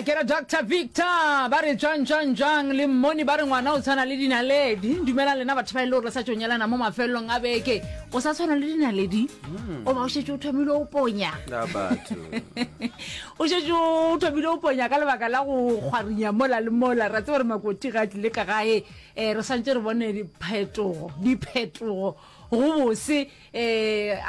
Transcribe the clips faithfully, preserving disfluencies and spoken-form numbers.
Ke re Doctor Victor ba re jwang jwang jwang le mmoni ba re ngwana o tshwana le dinaledi. Dumela lena batho ba e le gore le sa tšo nyalana mo mafelelong a beke. O sa tshwana le dinaledi? O ba o šetše o thomile o ponya. A batho. O šetše o thomile o ponya ka lebaka la go kgwarinya mola le mola. Ra tseba gore makoti ga a tlile ka gae, eh, re swantše re bone diphetogo, diphetogo go bose, eh,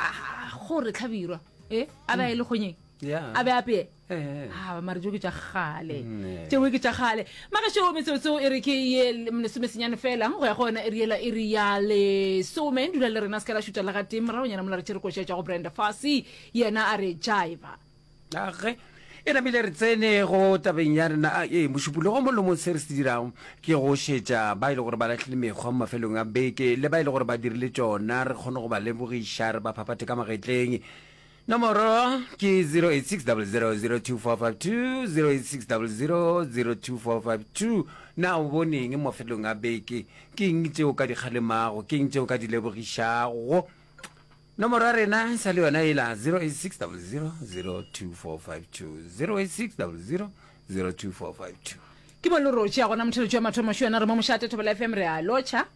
gore tlhabirwa, eh, a be a e le kgonyeng. Yeah. A be a pee. Eh. A mare tšeo ke tša kgale. Mm, Tšeo ke tša kgale. Magešo metsotso e re ke ye lesomesenyane fela go ya go yona iri yela iri ya lesome. Dula le rena se ka la šuta le gatee moragonyana mola re tšere koša tša go Brenda Fassie yena a re jiva. Age e namile re tsene go tabeng ya rena. A ee mošupologo mo lomong se re se dirago ke go šetša ba e le gore ba lahlile mekgwa mo mafelong a beke le ba e le gore ba dirile tšona re kgone go ba lebogiša re ba phaphathe ka magetleng. Nomoro ke zero eight six double zero zero two four five two, zero eight six double zero zero two four five two. Na o bone eng mo mafelong a beke? Ke eng tše o ka di kgalemago? Ke eng tše o ka di lebogišago? Nomoro ya rena e sa le yona ela zero eight six double zero zero two four five two, zero eight six double zero zero two four five two. Ke mo lerotši ya gona motheletši wa mathomo šo yena re mo mošate Thobela F M re a lotšha.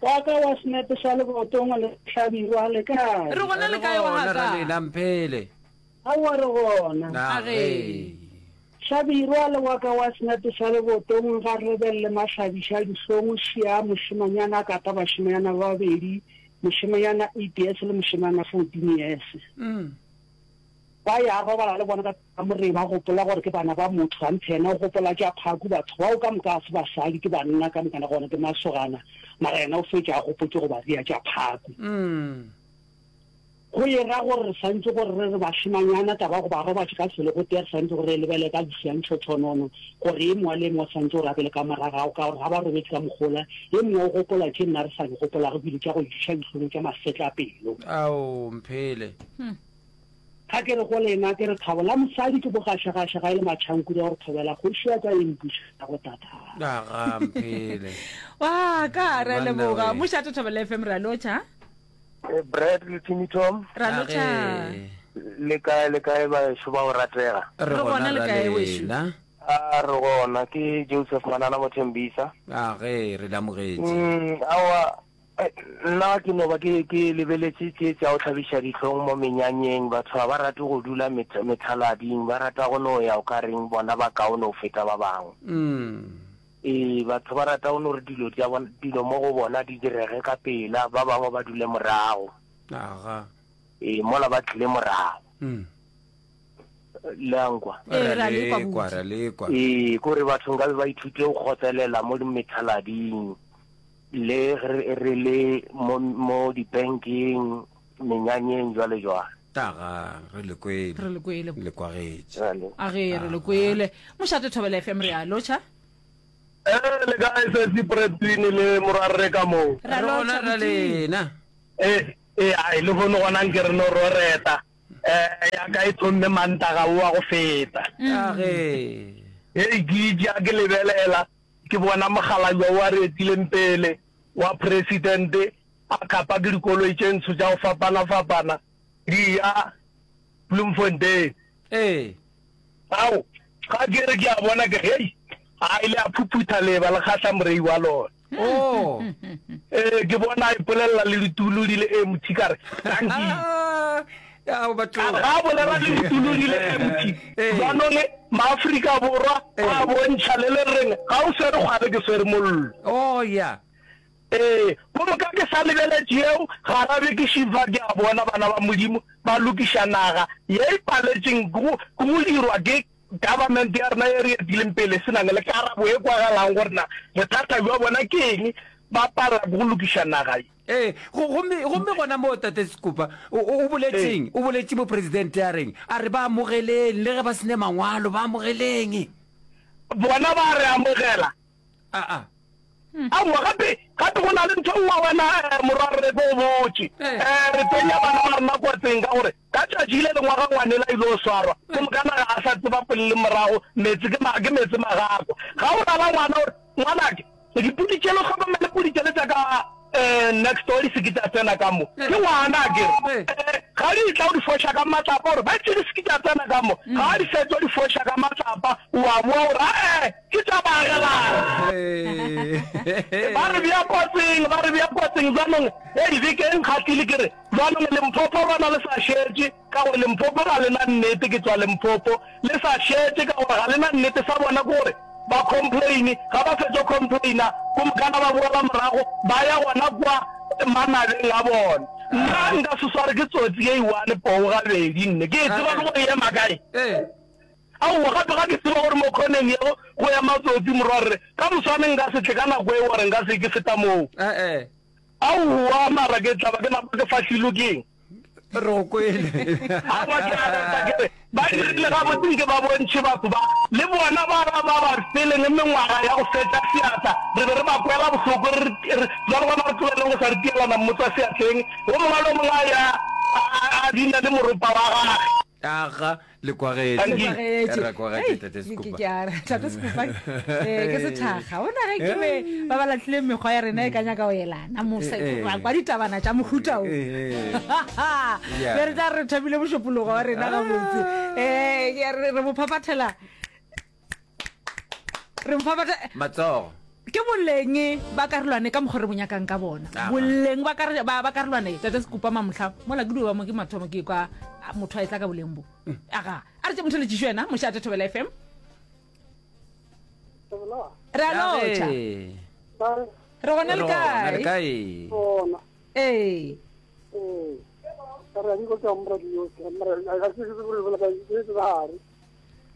Wa ka wa senepe sa lebotong le hlabirwa le kae? Re gona le kae wa Re gona, ka? Ralena Mphele. Aowa re gona. Na ge. Hlabirwa le wa ka wa senepe sa lebotong ga re lebelele mahlabiša dihlong šia mošemanyana a kata bašemanyana ba babedi, mošemanyana eight years le mošemanyana fourteen years. Mm. Ba ya robala le bona ka kamoreng ba gopola gore ke bana ba motho, anthe yena o gopola tša phaku. Batho bao ka moka ga se basadi, ke banna ka moka, na gona ke masogana, mara yena o fetša a gopotše go ba ria tša phaku. Mm. Go e ra gore re swantše gore re re bašemanyana taba ya go ba robatše ka selo go tee, re swantše gore re e lebelele ka bosiantšhotšhonono, gore e mongwe le e mongwe o swantše gore a be le ka morago ka gore ga ba robetše ka mogola, e mongwe o gopola tše nna re sa di gopolago ebile tša go iša dihlong tša masetlapelo. Ao, Mphele. Hmm. Ga ke re go lena, ke re thabo la mosadi ke bogašagaša ga e le matšhankudi a gore thobela kgoši ya ka e mpuša go tata. Aga, Mphele. Wa ka, re a Banna leboga. we. Mošate Thobela F M re a lotšha. Eh, Brad le Timmy Tom. Ra lotšha. Age. Le kae, le kae baešo ba go ratega? Re Re gona gona le ra kae wešo? lena. A re gona, ke Joseph Manana Mothembisa. Age, re le amogetše. Mm, aowa, eh, nna ke no ba ke, ke lebeletše tše tša go hlabiša dihlong mo menyanyeng. Batho ga ba rate go dula met-, methalading, ba rata go no ya o ka reng bona ba kaone go feta ba bangwe. Mm. Ee, batho ba rata go no re dilo tša bona, dilo mo go bona di direge ka pela, ba bangwe ba dule morago. Aga. Ee, mola ba tlile morago. Mm. Le a nkwa? Ee, Ra ra lekwa, lekwa, buti. ra lekwa. Ee, kore batho nkabe ba ithute go kgotlelela mo methalading, le re, re le mo, mo dibankeng, menyanyeng, jwale jwale. Aga, re le kwele. Re le kwele. Le kwagetše. Ra le. Age, re le kwele. Mošate Thobela F M re a lotšha. Eh, le kae sesi Bradwin le morwarre ka moo? Ra Re gona lotšha, ra buti. lena. Eh, eh, ai, lehono gona nke re no roreta. Eh, ya ka e thomme Mantaga wo wa go feta. Age. Hei, ke itše a ke lebelela, ke bona mokgalabje wo a re etileng pele wa presidente a kapa ke dikoloi tše ntsho tša go fapana-fapana di ya Bloemfontein. Ee. Ao, ga ke re ke a bona ke re, hei, a ile a phuphutha leeba le kgahla morei wa lona. Oh. Ee, ke bona a ipolelela le ditulo di le empty, ka re, dankie. Ao, batho. Ka re, ga a bolela le ditulo di le empty, Ee. jaanong Maafrika Borwa Ee. a bontšha le le reng, ga o swere kgwale ke swere mollo. Oh, ya. Ee, gomme ka ke sa lebeletše yeo, garabe ke šifa ke a bona bana ba Modimo ba lokiša naga ye e paletšeng ke go, ke go dirwa ke government ya rena ye re etileng pele e se nang le karabo e kwagalang gore na bothata bja bona ke eng ba palela ke go lokiša naga ye. Ee, go, gomme, gomme gona moo Tate Sekupa, o, o, o boletšeng? O boletše mopresidente a reng? A re ba amogeleng, le ge ba se ne mangwalo, ba amogeleng. Bona ba re amogela. Aa. Aowa, gape, gape go na le ntho e nngwe wena, eh, morwarre, ke go botše. Eh. Eh, re tsenya bana ba rena kotsing ka gore ka tšatši le lengwe ga ngwanela a ile swarwa, ke moka naga a sa tseba pele le morago, meetse ke ma, ke meetse magakwa. Ga o rala ngwana o re, ngwanake, dipudi tšele o hlokomele pudi tšele tša ka um next door di se ke tša tsena ka mo. Ke ngwana akere. Eh. Eh, ga di etla o di foša ka matlapa gore ba tše di se ke tša tsena ka mo. Ga di fetša o di foša ka matlapa, o a boa gore ae, ke tša baagelani. Ba re bea kotsing, ba re bea kotsing. Bjanong, hei, beke e nkgahlile ke re, bjanong Limpopo lona le sa šetše, ka gore Limpopo ga le na nnete, ke tšwa Limpopo, le sa šetše ka gore ga le na nnete, sa bona ke gore ba complain, ga ba fetša go complaina, kumkana ba boela morago, ba ya gona kwa manabeng a bona. Nna nka se sware ke tsotsi ye i-one poo gabedi nne, ke e tseba le gore e ema kae. Aowa, gape ga ke tseba gore mo khoneng yeo go ema tsotsi, morwarre, ka moswane nka se tle ka nako eo gore nka se ke feta moo. Aowa, mara ke tla ba ke napa ke fahlilwe ke eng? Re go kwele. Aowa, ke a reta ke re, ba dirile gabotse nke ba bontšhe batho ba, le bona ba ba ba ba feleng mengwaga ya go fetša seatla, re be re ba kwela bohloko, re re, bjale gona re tlogeleng go sa re tielana mmotswa seatleng, wo mongwe le wo mongwe a ya a, a, a bina le moropa wa gage. Aga, Le kwagetše. Le kwagetše. Re kwagetše, Tate Sekupa. Ke a re, Tate Sekupa, eh, ke sethakga. O na ge ke be ba ba lahlile mekgwa ya rena e ka nyaka go elana mo Eh, eh. kwa kwa ditabana tša mohuta o. Eh, eh. Yeah. Be re tla re thabile mošupologo wa rena gabotse. Eh, ke a re re mo phaphathela. Re mo phaphatha Matsogo. Ke boleng ba karolwane ka mokgwa re bo nyakang ka bona. Boleng ba, ba, ba karolwane, Tate Sekupa mamohla, mola ke dio ba mo ke mathomo ke kwa motho a etla ka boleng bo. Aga, a re tše motheletšišo yena, mošate Thobela F M. Re a lotšha. Re gona le kae? Le kae? Ee.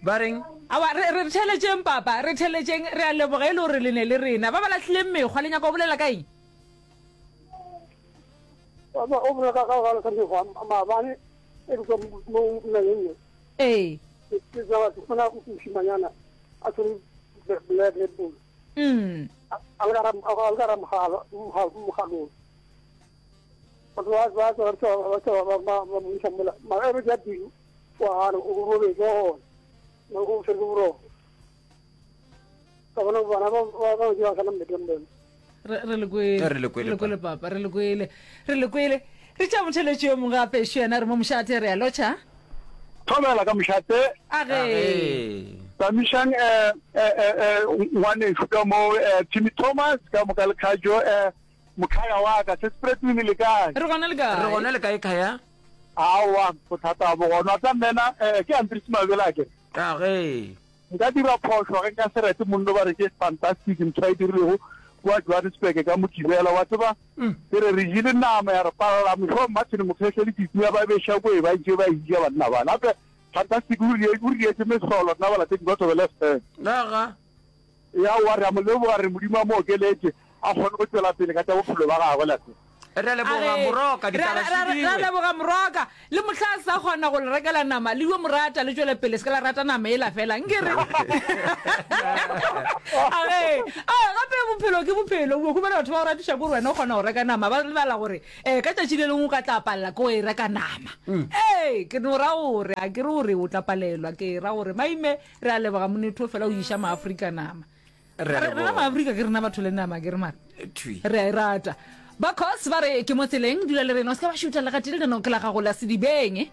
Ba reng? Aowa, re, re theeletšeng, Papa. Re theeletšeng. Re a leboga e le gore le ne le rena. Ba ba lahlileng mekgwa, le nyaka go bolela ka eng? Wa tseba, o bolela ka, ka go lahla mekgwa, maabane, e ke tswa mo nageng ye. Ee. Ke, ke tseba, ke fumana mošimanyana a tshwere Black Red Bull. Mm. A, a le ka ra, a le ka ra mogala, mogala, mogalong. Batho ba, ba, ba, ba, ba, ba, ba, ba mo iša mola. Mara e be ke ya pelo. Wa gana, o robetše gona, o tshwere ke boroko. Ka bona bana ba ba ba ba sana mmeteng bona. Re re le kwele. Re le kwele, Re le kwele papa, re le kwele. Re le kwele. Re tša motheletši yo mongwe gape šo yena re mo mošate re a lotšha. Thobela ka mošate. Age. Age. Tamišang eh eh eh ngwanešu ka mo eh Timmy Thomas ka moka le Khajo eh mokhaya wa ka se Spreadwin le kae? Re gona le kae? Re gona le kae Khaya? Aowa, bothata bo gona. Wa tseba Mmena, eh, ke Andries Mabele akere? A ge. Nka dira phošo ge nka se rete monno ba re ke fantastic ntho a e dirilego kua Johannesburg ka Mokibela. Wa tseba, ke re re jele nama ya re palela mošomo Martin Mokgehle le Titi ba beša ko e ba ntše ba e ja banna bana. Gape fantastic o re o re dietše mehlolo rena balatedi ba Thobela F M. Aga. Ee, aowa, re a mo leboga, re Modimo a mo okeletše, a kgone go tšwela pele ka tša bophelo ba gagwe lapeng. Re a leboga, A re, Moroka, Re a, ditaba re a, re a šidiwe. leboga, Moroka. Le mohla a sa kgona go le rekela nama, le yo mo rata, le tšwele pele, se ke la rata nama yela fela. Nke re. A re, A, gape bophelo ke bophelo. O humana batho ba go ratiša ke gore wena o kgona go reka nama, ba lebala gore um ka tšatši le lengwe o ka tla palela ke go e reka nama. Ee, ke no ra gore, a ke re gore o tla palelwa, ke ra gore maime Re a leboga monetho fela o iša maAfrika nama. Re a Rena leboga. maAfrika ke rena batho le nama ke re mara. Thwi. Re a e rata. Ba Cos ba re ke mo tseleng, dula le rena o se ke wa šutha le gatee lenaneo ke la gago la Sedibeng.